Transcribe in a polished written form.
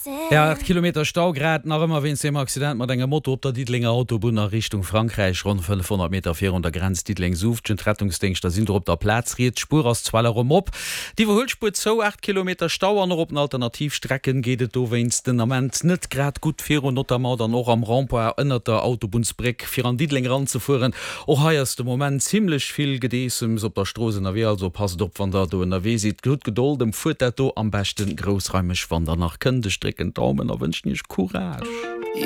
Ja, 8 Kilometer Stau grad nach ëmmer wéinst deem Accident mat engem Moto op der Diddelenger Autobunn a Richtung Frankräich, ronn 500 Meter virun der Grenz Diddeleng-Suuftgen. D'Rettungsdéngschter sinn do op der Plaz. Riets Spuer ass zwar erëm op, d'Iwwerhuelspuer zou. 8 Kilometer Stau an och op den Alternativstrecken geet et dowéinst den Ament net grad gutt virun, notamment dann och am Rond-point ënnert der Autobunnsbréck fir an Diddeleng eranzefueren. Och hei ass de Moment zimlech vill Gedeessems op der Strooss ënnerwee, also passt op wann der do ënnerwee sidd. Hutt Gedold, emfuert dat do am beschten groussraimeg wann der nach kënnt. Ech drécken d'Daumen a wënschen iech Courage.